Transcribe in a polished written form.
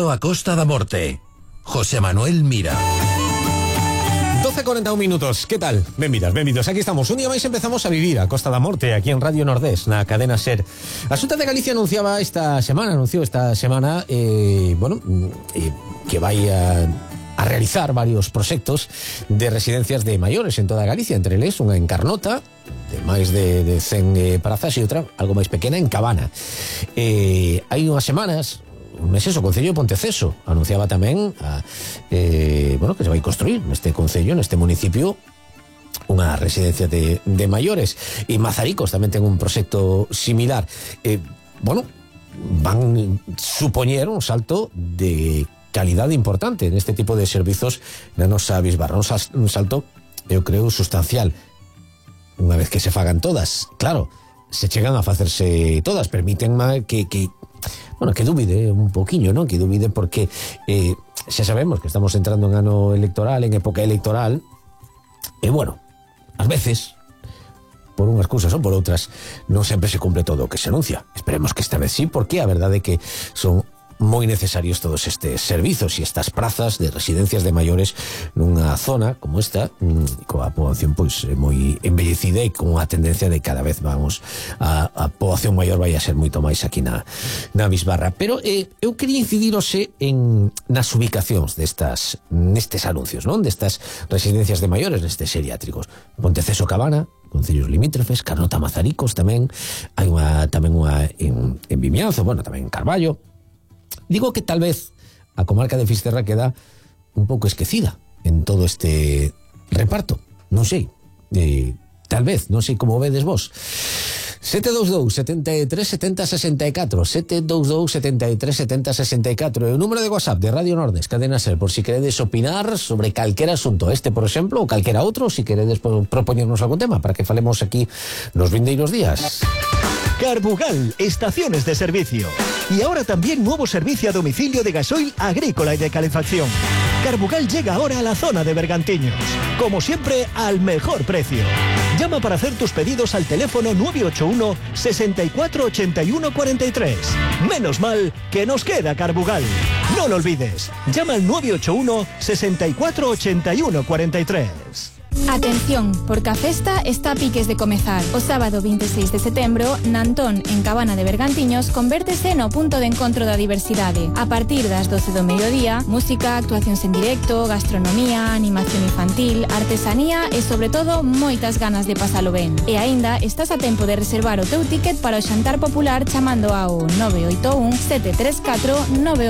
Benvido a Costa da Morte. José Manuel Mira. 12:41 minutos, que tal? Benvidos, aquí estamos. Un día máis empezamos a vivir a Costa da Morte, aquí en Radio Nordés, na cadena SER. A Xunta de Galicia anunció esta semana que vai a realizar varios proxectos de residencias de maiores en toda Galicia, entre eles unha en Carnota de máis de 100 prazas e outra algo máis pequena en Cabana. Hai unhas semanas un mes o Concello de Ponteceso anunciaba tamén que se vai construir neste concello, neste municipio, unha residencia de maiores. E Mazaricos tamén ten un proxecto similar. Van supoñer un salto de calidade importante neste tipo de servizos na nosa bisbarra, un salto, eu creo, sustancial. Unha vez que se fagan todas, claro, se chegan a facerse todas, permiten que dúbide un poquinho, non? Que dúbide porque xa sabemos que estamos entrando en ano electoral, en época electoral, e ás veces, por unhas cousas ou por outras, non sempre se cumple todo o que se anuncia. Esperemos que esta vez sí, porque a verdade é que son moi necesarios todos estes servizos e estas prazas de residencias de maiores nunha zona como esta, coa poboación moi embellecida e con a tendencia de cada vez a poboación maior vai a ser moito máis aquí na bisbarra. Pero eu quería incidir nas ubicacións nestes anuncios, non? Destas residencias de maiores, nestes geriátricos. Ponteceso, Cabana, concellos limítrofes, Carnota, Mazaricos tamén, hai tamén unha en Vimianzo, tamén en Carballo. Digo que tal vez a comarca de Fisterra queda un pouco esquecida en todo este reparto. Non sei, tal vez, non sei como vedes vos. 722 73 70 64 722 73 70 64 e o número de WhatsApp de Radio Nordés, cadena SER, por si queredes opinar sobre calquera asunto, por exemplo, ou calquera outro, si queredes propoñernos algún tema para que falemos aquí nos vindeiros días. Carbugal, estaciones de servicio. Y ahora también nuevo servicio a domicilio de gasoil agrícola y de calefacción. Carbugal llega ahora a la zona de Bergantiños. Como siempre, al mejor precio. Llama para hacer tus pedidos al teléfono 981 64 81 43. Menos mal que nos queda Carbugal. No lo olvides. Llama al 981 64 81 43. Atención, porque a festa está a piques de comezar. O sábado 26 de setembro, Nantón, en Cabana de Bergantiños, convértese no punto de encontro da diversidade. A partir das 12 do mediodía, música, actuacións en directo, gastronomía, animación infantil, artesanía e, sobre todo, moitas ganas de pasalo ben. E aínda estás a tempo de reservar o teu ticket para o xantar popular chamando ao 981 734 9